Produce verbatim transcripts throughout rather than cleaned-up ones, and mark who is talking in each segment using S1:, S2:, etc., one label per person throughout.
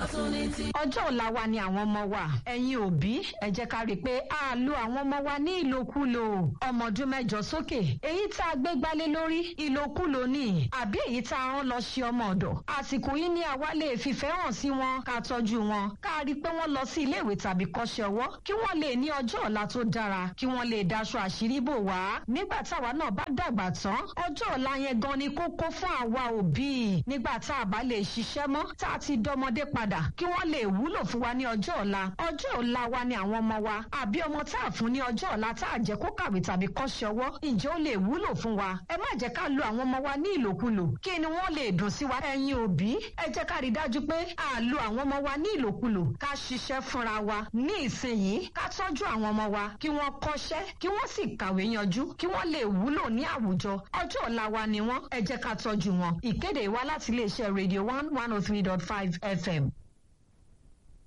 S1: Ọ̀tún ní ti.
S2: Ọjọ́ ọ̀la wa ni àwọn ọmọ wa. Ẹ̀yin òbí, ẹ jẹ́ ká rí i pé a lo àwọn ọmọ wa ní ìlòkulò. Ọmọ ọdún mẹ́jọ sókè, èyí tá a gbé gbálé lórí ìlòkulò ni, àbí èyí tá a rán lọ ṣe ọmọ ọ̀dọ̀. Àsìkò yìí ni àwa lè fìfẹ́ hàn sí wọn, ká tọ́jú wọn, ká rí i pé wọ́n lọ sí iléèwé tàbí kọ́ṣẹ́ ọwọ́, kí wọ́n lè ní ọjọ́ ọ̀la tó dára, kí wọ́n lè daṣọ àṣírí bò wá. Nígbà táwa náà bá dàgbà tán, ọjọ́ ọ̀la yẹn gan ni kókó fún àwa òbí. Nígbà tá a bá lè ṣiṣẹ́ mọ́, tá a ti dọmọdé padà, kí wọ́n lè wúlò fún wa ní ọjọ́ ọ̀la. Ọjọ́ ọ̀la wa ni àwọn ọmọ wa. Àbí ọmọ tá a fún ní ọjọ́ ọ̀la tá a jẹ́ kó kàwé tàbí kọ́ṣẹ́ ọwọ́, ǹjẹ́ ó lè wúlò fún wa? Ẹ má jẹ́ ká lo àwọn ọmọ wa ní ìlòkulò. Kí ni wọ́n lè dùn sí wa? Ẹ̀yin òbí, ẹ jẹ́ ká rí dájú pé a lo àwọn ọmọ wa ní ìlòkulò. Ká ṣiṣẹ́ fúnra wa ní ìsinyìí, ká tọ́jú àwọn ọmọ wa, kí wọ́n kọ́ṣẹ́, kí wọ́n sì kàwé yanjú, kí wọ́n lè wúlò ní àwùjọ. Ọjọ́ ọ̀la wa ni wọ́n, ẹ jẹ́ ká tọ́jú wọn. Ìkéde wá láti iléeṣẹ́ Radio one one oh three dot five F M.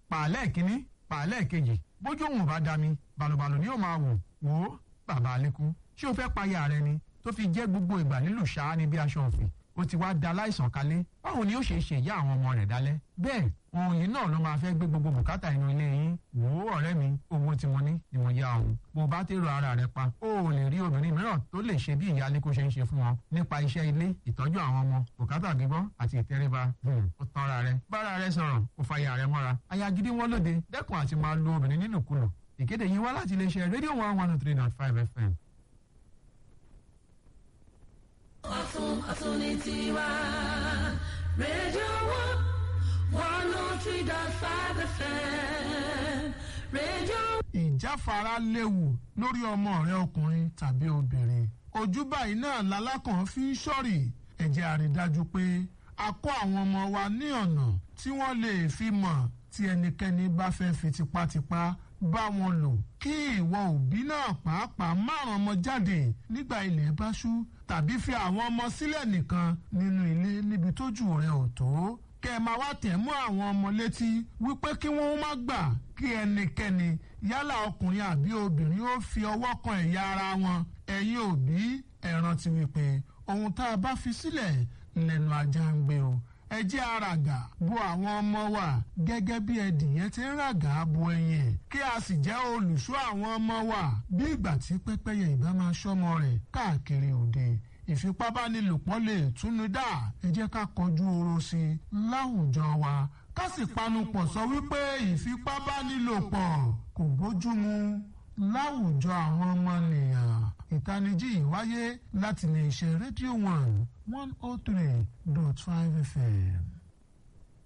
S3: Pàálẹ̀ kínní, pàálẹ̀ kejì, bójú òun ò bá dami, balùbalù ni yóò máa wò. Wò ó, bàbá Alẹ́kùn, ṣé o fẹ́ payà rẹ ni tó fi jẹ́ gbogbo ìgbà nílùú ṣáá ni bí aṣọ òfì? Ó ti wá da láìsàn kalẹ̀. Báwo ni ó ṣe ṣe ìyá àwọn ọmọ rẹ̀ dálẹ́? Bẹ́ẹ̀ òun yìí náà ló máa fẹ́ gbé gbogbo bùkátà inú ilé yín. Wò ó, ọ̀rẹ́ mi, owó tí mo ní ni mo yá òun. Bó o bá tèrò ara rẹ pa, o ò lè rí obìnrin mìíràn tó lè ṣe bí ìyá Alẹ́kùn ṣe ń ṣe fún ọ nípa iṣẹ́ ilé, ìtọ́jú àwọn ọmọ, bùkátà gbígbọ́ àti ìtẹríba. Ó tanra rẹ, bára rẹ sọ̀rọ̀, ó fàyà rẹ mọ́ra. Aya gidi wọn lóde. Dẹ́kun àti máa lu obìnrin nínúkulù. Ìkéde yìí wá láti iléeṣẹ́ Radio one one three dot five F M.
S1: Ọ̀tún ọ̀tún ní tiwa. Radio one one oh three dot five F M. Radio.
S4: Ìjáfara léwu lórí ọmọ rẹ ọkùnrin tàbí obìnrin. Ojú báyìí náà lalákàn fi ń ṣọ́rì. Ẹ jẹ́ a rí dájú pé a kọ́ àwọn ọmọ wa ní ọ̀nà tí wọ́n lè fi mọ̀ tí ẹnikẹ́ni bá fẹ́ fi tipátipá bá wọn lò, kí ìwọ òbí náà pàápàá márùn ọmọ jáde nígbà ilẹ̀ bá ṣú tàbí fi àwọn ọmọ sílẹ̀ nìkan nínú ilé níbi tójú rẹ̀ ò tó, kẹ́ ẹ máa wá tẹ̀ mọ́ àwọn ọmọ létí wípé kí wọ́n má gbà kí ẹnikẹ́ni, yálà ọkùnrin àbí obìnrin, ó fi ọwọ́ kan ẹ̀yà ara wọn. Ẹ̀yin òbí, ẹ rántí wípé ohun tá a bá fi sílẹ̀ lẹ́nu ajá ń gbé o. Ẹ jẹ́ àràgà bo àwọn ọmọ wa gẹ́gẹ́ bí ẹdìyẹ ti ń ràgà bo ẹyin ẹ̀, kí a sì jẹ́ olùṣọ́ àwọn ọmọ wa bí ìgbà tí pẹ́pẹ́yẹ ìbá máa ṣọ́mọ rẹ̀ káàkiri òde. Ìfipábánilòpọ̀ lè túnú dá. Ẹ jẹ́ ká kọjú oró sí i láwùjọ wa, ká sì panupọ̀ sọ wípé ìfipábánilòpọ̀ kò bójúmu láwùjọ àwọn ọmọnìyàn. Ìtanijí yìí wáyé láti lè ṣe Radio one one oh three dot five F M.